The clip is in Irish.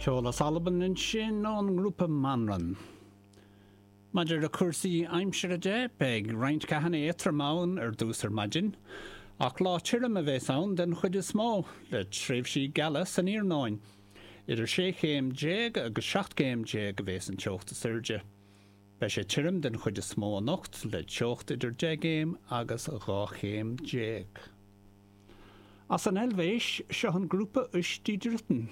Ceol as Albain ansin ón ngrúpa Manran. Maidir le cúrsaí aimsire de, beidh roinnt ceathanna éadrom ann ar dtús ar maidin, ach lá tirim a bheas ann den chuid is mó, le tréimhsí geala san iarnóin. Idir 16 chéim agus 17 gcéim a bheas an teocht is airde. Beidh sé tirim den chuid is mó anocht, le teocht idir 10 gcéim agus 12 chéim. As an Eilvéis, seo an grúpa Uesch die Dritten.